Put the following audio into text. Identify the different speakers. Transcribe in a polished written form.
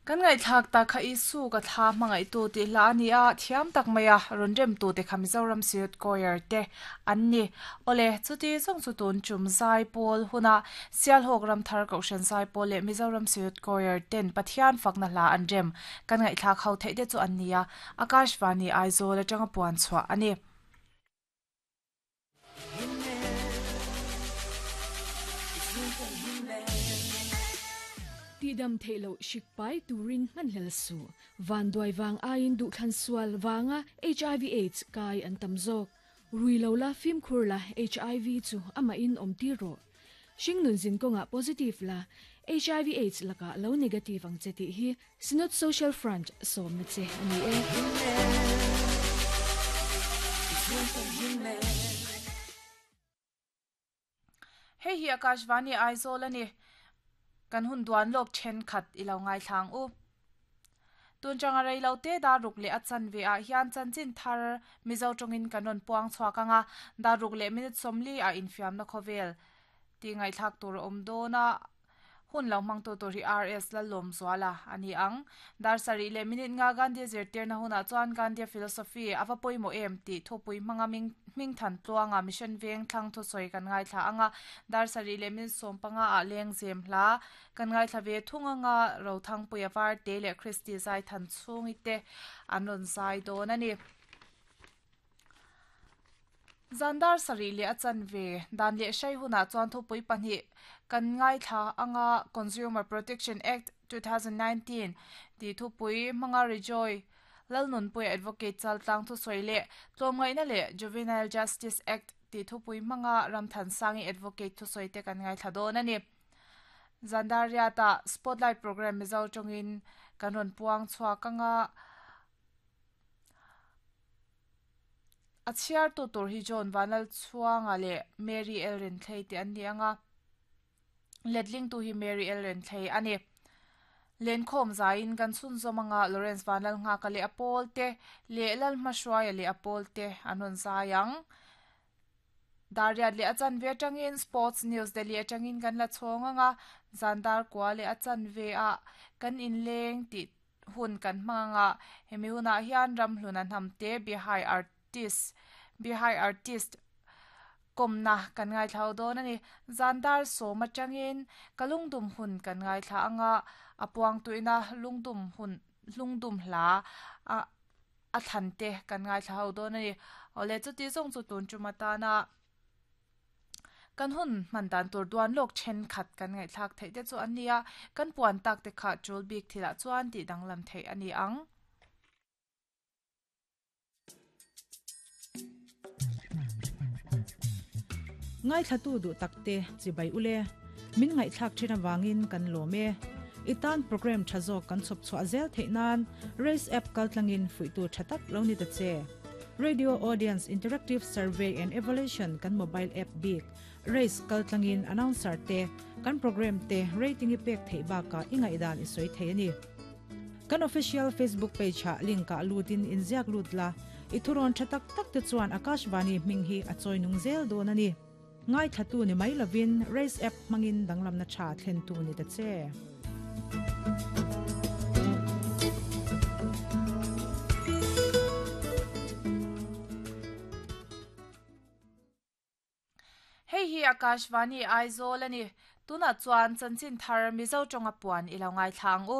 Speaker 1: Kan ngaihthlak tak kha Isu ka thla hmangaihtu tih hla a ni a, thiam tak maia rawn remtu te kha Mizoram Youth Choir te an ni. Awle, chuti zawng chu tun tum Zaipawl huna Sialhawk Ramthar Kohhran Zaipawl leh Mizoram Youth Choir ten Pathian fakna hla an rem kan ngaihthlak ho theih te chu an ni a, Akashvani Aizawl atanga puan chhuah a ni.
Speaker 2: Tihdam theih loh hrik pai turin hmanhlel suh. Vanduai vang aiin duhthlan sual vanga hiv aids kai an tam zawk. Rui lo la fimkhur la hiv chu amahin awm tir rawh. Hringnun zin kawngah positive la hiv aids lakah lo negative ang che tih hi Synod Social Front sawmna che a ni e.
Speaker 1: Hei hi Akashvani Aizawl a ni. Kan hun duan lawk thenkhat i lo ngaithlang u. Tun changa rei lo te dar ruk leh a chanve ah hian chanchin thar Mizo tawngin kan rawn puang chhuak ang a, dar ruk leh minute 40 ah infiamna khawvel tih ngaihthlak tur a awm dawn a. Hun lo hmangtu tur hi RS Lallawmzuala a ni ang. Dar sarih leh minute nga Gandhi zirtirna hunah chuan Gandhi philosophy a va pawimawh em tih thupui hmanga hmingthan tluanga mission veng thlang thusawi kan ngaithla ang a. Dar sarih leh minute 15 ah lengzem hla kan ngaithla ve thung anga Rothangpuia Varte leh Christy Zaithan chhungi te an rawn zai dawn a ni. Zan dar sarih leh a chanve dan leh hrai hunah chuan thupui pahnih kan ngaithla anga Consumer Protection Act 2019 tih thupui hmanga Rejoy Lalnunpuia Advocate Chaltlang thusawi leh Tlawmngaihna leh Juvenile Justice Act tih thupui hmanga Ramthansangi Advocate thusawi te kan ngaithla dawn a ni. Zan dar riatah Spotlight Programme Mizo tawngin kan rawn puang chhuak anga A chhiartu tur hi John Vanlalchhuanga leh Mary Elrenthlei te an ni ang a, letlingtu hi Mary Elrenthlei a ni. Lenkhawm zaiin kan chhunzawm anga Lawrence Vanlalnghaka leh a pawl te leh Lalhmahruaia leh a pawl te an rawn zai ang. Dar riat leh a chanve atangin Sports News Delhi atangin kan la chhawng ang a, zan dar kua leh a chanve ah kan inleng tih hun kan hmang ang a, hemi hunah hian ramhluna hnamte Bihai artist Bihai artist kawmna kan ngaithla ho dawn a ni. Zan dar sawm atangin ka lungdum hun kan ngaithla ang a, a puangtuina lungdum hun lungdum hla a a thlan te kan ngaithla ho dawn a ni. Awle chuti zawng chu tun tum atana Kan hun hman dan tur duan lawk thenkhat kan ngaihthlak theih te chu an ni a, kan puan tak te kha tul bik thilah chuan tih danglam theih a ni ang.
Speaker 3: Ngaithlatu duh tak te chibai ule, min ngaihthlak thin avangin kan lawm e. I tan program tha zawk kan chhawp chhuah zel theih nan Race app kaltlangin fuihtu tha tak lo ni ta che. Radio Audience Interactive Survey and Evaluation kan mobile app bik Race kaltlangin announcer te kan program te rating i pek theih bakah i ngaihdan i sawi thei a ni. Kan official Facebook page ah link ah lutin inziak lut la, i thurawn tha tak tak te chuan Akashvani hming hi a chawi nung zel dawn a ni. Ngaithlatu ni mai lovin Race app hmangin danglamna tha thlentu ni ta che.
Speaker 1: Hei hi Akashvani Aizawl a ni. Tunah chuan chanchin thar Mizo tawnga puan i lo ngaithla ang u.